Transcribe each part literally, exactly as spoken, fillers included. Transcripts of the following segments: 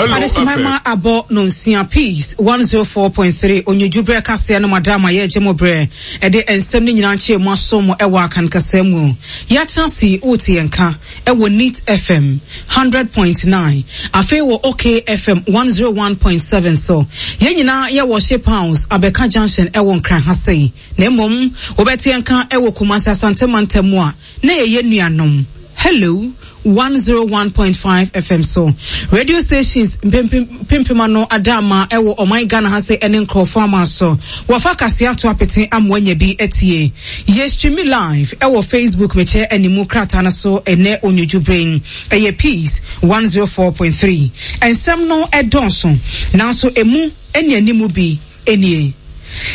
Adehyemma ma abɔ nonsia Peace one zero four point three Onyodwo berɛ kaseɛ no madam a yɛregye mo berɛ ɛde nsɛm no nyinaa nkyerɛ mu aso mo ɛwɔ Akan kasa mu. Yɛatena ase wote yɛn ka ɛwɔ Neat F M one hundred point nine afei wɔ OK F M one zero one point seven so. Yɛn nyinaa yɛwɔ Ship House Abɛka Junction ɛwɔ Nkran ha sei. Na mmom wobɛte yɛn ka ɛwɔ Kumasi Asante mantam mu a na yɛyɛ nuanom. Hello one zero one point five F M so. Radio stations pimpima no adama ewo ɔman Ghana ha se ene nkrofo ama so. Wɔfa kase ato apete amoanya bi etie. Ye stream live ewo Facebook meche animu krata na so ene onyodwo brain. Eye Peace one zero four point three. Ensem no edonso. Nanso emu eni animu bi enie.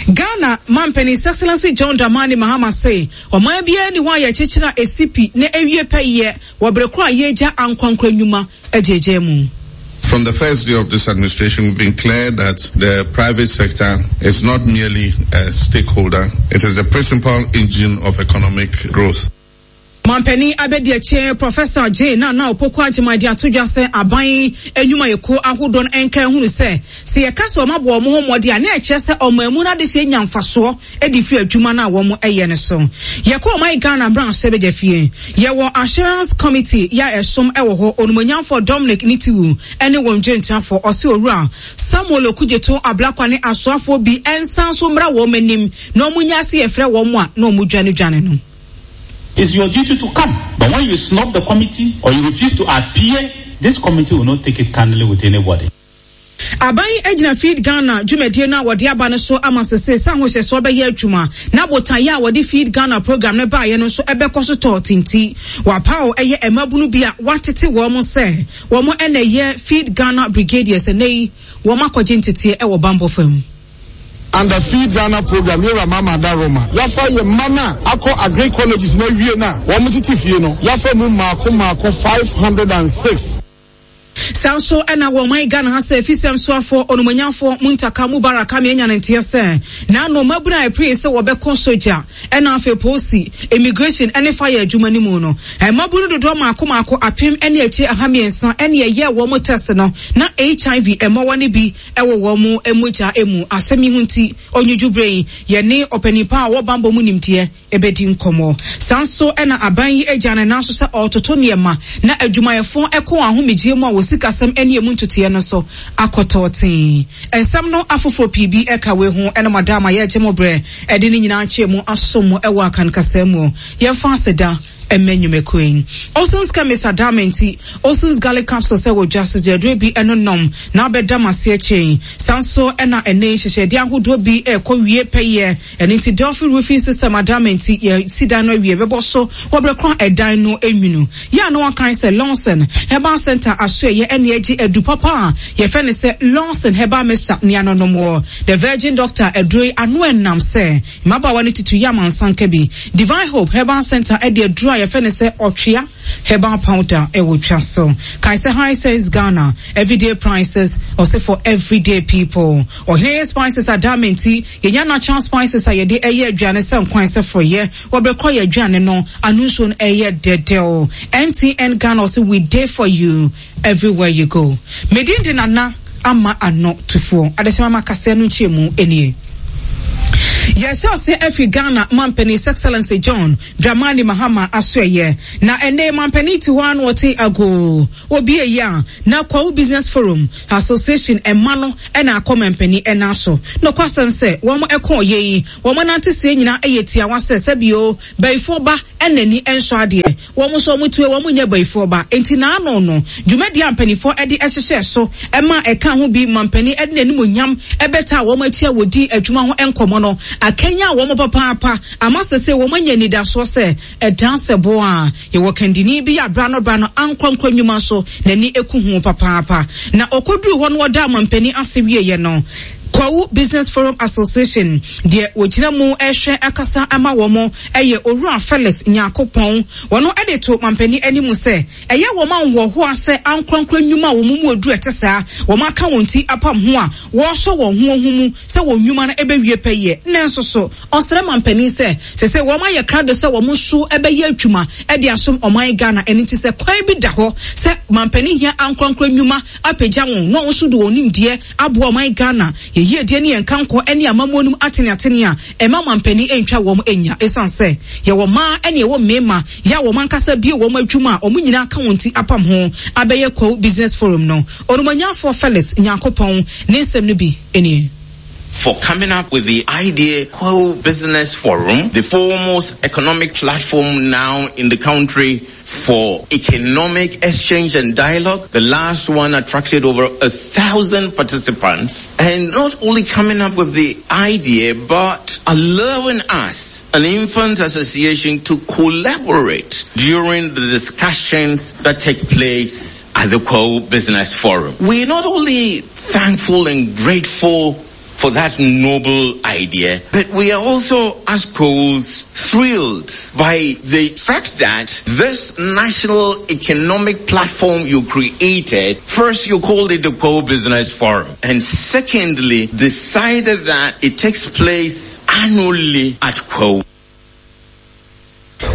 Ghana Mampeni His Excellency John Dramani Mahama say ɔman bia ni hɔ a yɛkyekyere a esipi na ewie pɛyɛ wɔ bere koro a yɛgya ankwankwa nnwuma agyegye mu. From the first day of this administration, we've been clear that the private sector is not merely a stakeholder, it is the principal engine of economic growth. Mampeni abedi Professor Jane Nana Opoku Agyemang de ato dwa sɛ aban enwuma yɛkuo ahodoɔ no ɛnka ehunu sɛ sɛ yɛka sɛ ɔmo aboɔ ɔmo ho mmɔden a na ɛkyerɛ sɛ ɔmo emu no adehyɛ nya mfasoɔ edi fi adwuma no a wɔn ɛyɛ no so. Yɛkɔ ɔman Ghana branch bɛgya fie. Yɛwɔ Assurance Committee ya ɛsom ɛwɔ hɔ onumonyamfo Dominic Nitiwu ɛne wɔn dwentrafo ɔse owura Samuel Okudzeto Ablakwa ne asoafoɔ bi ɛnsan so mmra wɔn anim na ɔmo nya ase yɛfrɛ wɔn a na ɔmo dwane dwane no. It's your duty to come. But when you snub the committee or you refuse to appear, this committee will not take it kindly with anybody. Aban egyina Feed Ghana dwumadie na wɔde aba no so ama sese sa ho hyɛ bɛyɛ adwuma na botaeɛ a wɔde Feed Ghana program no baeɛ no so ɛbɛkɔ so tɔ tinti wapaw ɛyɛ emabunu bi a watete wɔn mo sɛ wɔn mo ɛna ɛyɛ Feed Ghana Brigadiers ɛnɛ wɔn akɔgye nteteɛ ɛwɔ bambɔ fam. Under Feed Ghana program, here Mama Daroma. Yafa ye mana akɔ agri colleges na wie na wɔn tete fie no. Yafa mu mako mako five hundred and six. Sanso ena wo man Ghana ha se fisem soafo onumanyafo Muntaka Mubaraka me anya ntia se na no mabuna e pre se wo beko soja ena afa polisi immigration ene fire adwuma ni mu no e mabunu dodo maako maako apem ene achi aha miensa ene ye wo mo test no na H I V emowa ne bi e wo wo mu emogya emu asemi hunti onyuju brain ye ne opanipa a wo bambo mu nimtie ebedi nkomo sanso ena aban yi agya ne nanso sɛ ɔtoto nneɛma na adwumayɛfo ɛkɔ ahomegye mu a wosikasɛm ene emu ntoteɛ no so akɔtɔten ensɛm no afoforo pii bi ɛka we ho ene madama ye gye mo brɛ ɛde ne nyinaa nkyɛ mu asom ɛwɔ akankasɛm mu yɛmfa aseda emenyumekwen Olsen's Chemist Adamenti Olsen's Garlic Capsules ɛwɔ dwa so de bi eno nom na abɛda mase chain sanso ena ene hyehyɛde ahodoɔ bi ɛkɔ wie pɛyɛ ene nti Delphi Roofing System Adamenti ye sidan no wie bɛbɔ so wɔbɛkɔ ɛdan no enwunu ya no kan sɛ Lawson Herbal Center aso ye ene agye adu papa ye fɛ ne sɛ Lawson Herbal Mixture ne anonom wɔ The Virgin Doctor aduroi ano enam sɛ mabawa ne tutu ya mansanka bi Divine Hope Herbal Center e de aduru a ye fɛ ne sɛ ɔtwea herbal powder e wo twa so Kaiser High Sense Ghana everyday prices also for everyday people or here spices adamenti yenya natural spices a yede eye aduane sɛ nkwan sɛ froye wɔbɛkɔ ye aduane no anunso no eye dedel M T N Ghana also we there for you everywhere you go medin de nana ama ano tufo adesema makase no nchemu enie Yɛhyɛ ase afi Ghana Mampani His Excellency John Dramani Mahama asoɛyɛ na ɛnɛ Mampani ti hɔ ano ɔte ago obi eyi a na Kwawu Business Forum Association ɛma no ɛna akɔ Mampani ɛna so no kwasɛm sɛ wɔn ɛkɔ yɛ yi wɔn nante sie nyinaa ɛyɛ tiawa sɛ sɛbio bɛyifo ba ɛna ni ɛnso adeɛ wɔn nso wɔn tue wɔn nyɛ bɛyifo ba enti na ano no dwumadi ampanifo ɛde ɛhyehyɛ so ɛma ɛka ho bi Mampani ɛde n'anim onyam ɛbɛta wɔn akyi a wɔdi adwuma ho ɛnkɔmɔ no akenya wɔn papaapa amasese wɔn anya nidaso sɛ ɛdan sɛ bo a yɛwɔ kandini bi abra no bra no ankwankwa nnwuma so n'ani eku ho papaapa na okoduru hɔ no ɔda Mampani ase wieyɛ no Kwahu Business Forum Association deɛ wɔgyina mu ɛhwɛ akasa ama wɔn ɛyɛ Owura Felix Nyakopɔn. Wɔn de to mampanin anim sɛ ɛyɛ wɔn a wɔhoa sɛ ankorankora nnwuma a wɔn mu oduru ɛte saa wɔn aka wɔn ti apam ho a wɔresɔ wɔn ho ho mu sɛ wɔn nnwuma no ɛbɛwie pɛyɛ. Nanso so ɔsrɛ mampanin sɛ sɛ sɛ wɔn ayɛ krado sɛ wɔn nso ɛbɛyɛ adwuma ɛde asom ɔman Ghana. Ɛno ti sɛ kwan bi da hɔ sɛ mampanin hia ankorankora nnwuma apagya wɔn na wɔn nso de wɔn nimdeɛ aboa ɔman Ghana yɛyie ne yɛn kankɔ ne amammuo no mu ateneatene a ɛma mampanin ntwa wɔn nya, ɛsiane sɛ yɛwɔ mmaa ne yɛwɔ mmarima yɛ a wɔn ankasa bie wɔn adwuma a wɔn nyinaa ka wɔn ti apam ho abɛyɛ Kwahu Business Forum no. Onumanyafo Felix Nyankopɔn ne nsɛm no bi nie. For coming up with the idea Kwahu Business Forum, the foremost economic platform now in the country for economic exchange and dialogue. The last one attracted over a thousand participants. And not only coming up with the idea, but allowing us, an infant association, to collaborate during the discussions that take place at the Kwahu Business Forum. We're not only thankful and grateful for that noble idea, but we are also, as Kwahus, thrilled by the fact that this national economic platform you created, first you called it the Kwahu Business Forum, and secondly, decided that it takes place annually at Kwahu.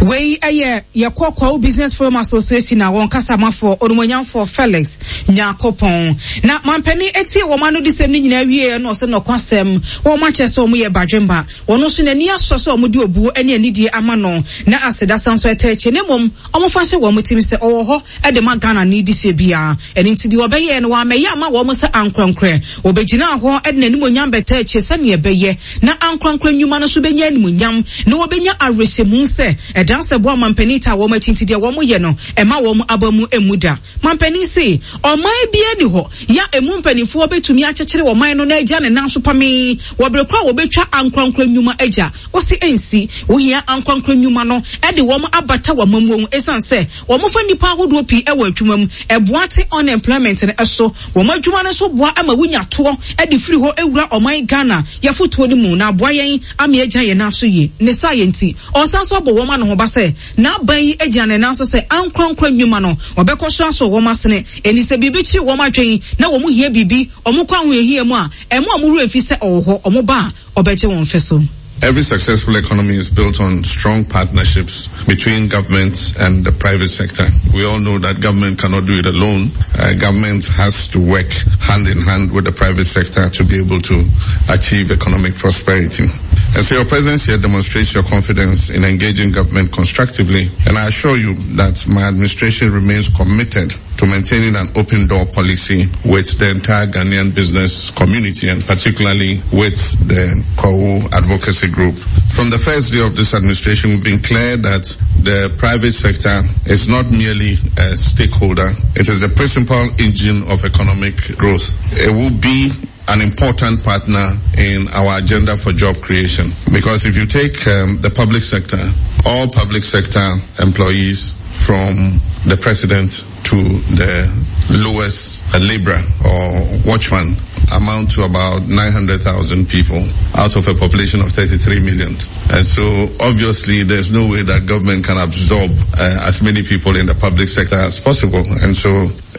Wei ɛyɛ yɛkɔ Kwahu Business Forum Association a wɔn kasamafoɔ Onumonyamfoɔ Felix Nyakopɔn. Na mampanin etie wɔn ano de sɛm ne nyinaa wie no, ɔsɛ nɔkwasɛm wɔn akyɛ sɛ wɔn yɛ badwemba. Wɔn nso n'ani asɔ sɛ wɔn de obuo ne anidie ama no na aseda san so ɛtɛ akyi, ne mmom wɔn fa hyɛ wɔn tirim sɛ ɔwɔ hɔ ɛde ma Ghana ne di hyɛ biara. Ɛne nti deɛ ɔbɛyɛ no wɔamɛyɛ ama wɔn sɛ ankorankorɛ, wɔbɛgyina hɔ ɛde n'animonyam bɛtɛ akyi sɛnea ɛbɛyɛ na ankorankorɛ nnwuma no nso bɛnya animonyam na wɔbɛnya awerɛhyɛmu sɛ ɛdan sɛ boa mampanin ta wɔn akyi. Nti deɛ wɔn yɛ no ɛma wɔn aba mu emu da. Mampanin se ɔman biara ni hɔ ya emu mpanimfoɔ bɛtumi akyekyere ɔman no na agya ne nan so pamee wɔbere koro a wɔbɛtwa ankorankora nnwuma agya. Ɔsi nsi wohia ankorankora nnwuma no ɛde wɔn abata wɔn mu, ɛsiane sɛ wɔn fa nnipa ahodoɔ pii ɛwɔ adwuma mu, ɛboa te unemployment no ɛso. Wɔn adwuma no nso boa ama wonya toɔ ɛde firi hɔ ewura ɔman Ghana yɛfotoɔ no mu na aboa yɛn ama yɛgyina yɛn nan so yie. Ne saa yɛn ti ɔsan so abɔ wɔn ano ho ba sɛ n'aban yi gyina ne nan so sɛ ankorankora nnwuma no ɔbɛkɔ so asɔ wɔn asene ɛni sɛ biribi kyerɛ wɔn adwene na wɔn hia biribi, wɔn kɔ ahohiahia mu a ɛmo a wɔn wura fi sɛ ɔwɔ hɔ, wɔn ba a ɔbɛgye wɔn fɛ so. Every successful economy is built on strong partnerships between government and the private sector. We all know that government cannot do it alone. Uh, government has to work hand in hand with the private sector to be able to achieve economic prosperity. And so your presence here demonstrates your confidence in engaging government constructively. And I assure you that my administration remains committed to maintaining an open door policy with the entire Ghanaian business community and particularly with the Kwahu Advocacy Group. From the first day of this administration, we've been clear that the private sector is not merely a stakeholder. It is the principal engine of economic growth. It will be an important partner in our agenda for job creation. Because if you take um, the public sector, all public sector employees from the president to the lowest laborer or watchman amount to about nine hundred thousand people out of a population of thirty-three million. And so obviously there's no way that government can absorb uh, as many people in the public sector as possible. And so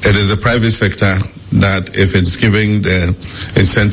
it is the private sector that, if it's giving the incentive